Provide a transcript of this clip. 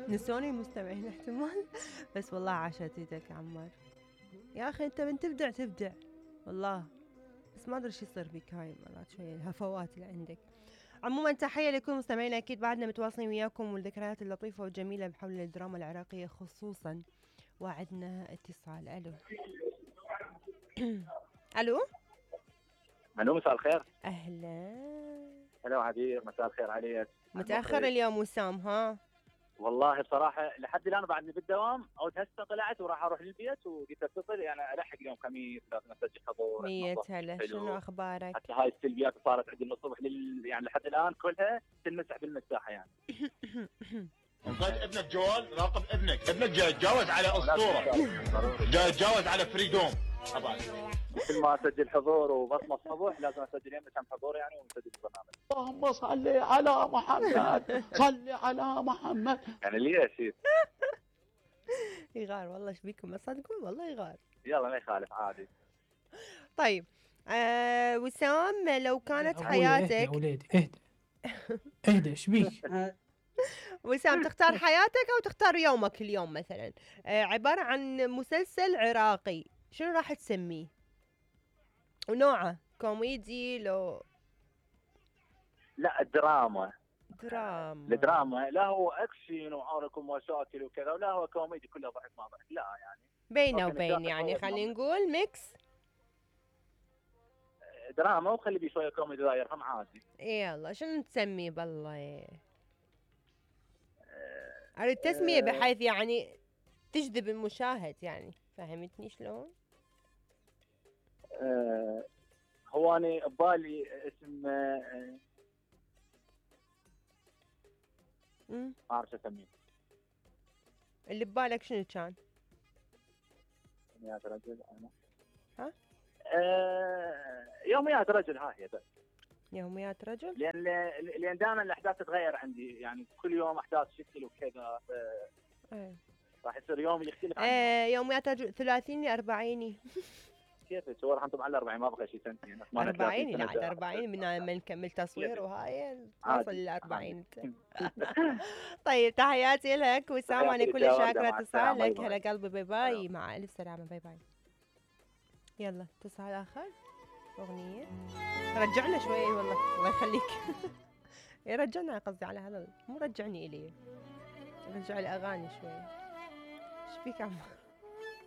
نسوني المستمعين احتمال. بس والله عاشت ايدك يا عمار يا اخي، انت من تبدع والله. بس ما ادري شو يصير بك هاي مرات شويه الهفوات اللي عندك. عموما تحيه لكل مستمعينا، اكيد بعدنا متواصلين وياكم والذكريات اللطيفه والجميله بحول الدراما العراقيه خصوصا. وعدنا اتصال. الو. الو. الو مساء الخير. اهلا. هلا عبير، مساء الخير عليك. متاخر اليوم وسام ها؟ والله بصراحه لحد الان بعدني بالدوام، او هسه طلعت وراح اروح للبيت وقلت اتصل يعني الحق اليوم خميس لازم اسجل حضور. 100 هلا، شنو اخبارك؟ حتى هاي السلبيات صارت عندي من الصبح يعني لحد الان كلها تنمسح بالمساحه يعني. انطيت ابنك جوال، راقب ابنك جاوز على اسطوره، جاوز على فريدوم طبعا. كل ما اسجل حضور وبصمه الصبح لازم اسجل يمه كم حضور يعني ونسجل البرنامج. اللهم صل على محمد، صل على محمد. يعني ليش يغار والله، ايش بيكم ما تصدقون والله يغار. يلا ما يخالف عادي. طيب وسام، لو كانت حياتك يا وليدي اهدى ايش بيك؟ وسام، تختار حياتك او تختار يومك اليوم مثلا عبارة عن مسلسل عراقي، شنو راح تسميه؟ ونوعه كوميدي لو؟ لا دراما. الدراما لا هو اكشن وعارك ومشاكل وكذا، ولا هو كوميدي كله ضحك ما ضحك، لا يعني بينه وبين يعني خلينا نقول ميكس دراما وخلي بيه شويه كوميدي لا يرحم عادي. يلا شنو تسميه بالله؟ اريد تسمية بحيث يعني تجذب المشاهد، يعني فهمتني شلون؟ هو أنا ببالي اسم ما أعرف أسميه. اللي ببالك شنو كان؟ يوميات رجل أنا. ها؟ يوميات رجل، ها هي بس. يوميات رجل؟ لأن دائما الأحداث تتغير عندي، يعني كل يوم أحداث شكل وكذا. راح يصير يوم يختلف يوميات رجل ثلاثيني أربعيني. كيف تصور انتم على 40 ما بقى شيء سنتين 40 لا 40 من نكمل تصوير وهاي توصل ل 40. طيب تحياتي لك وسام، انا كل شاكره اتصالك. هلا قلبي، باي باي، مع الف سلامه، باي باي. يلا اتصال اخر، اغنيه رجعنا شوي والله، الله يخليك. رجعنا قصدي على هذا، مو رجعني الي، رجع الاغاني شوي. ايش فيك عم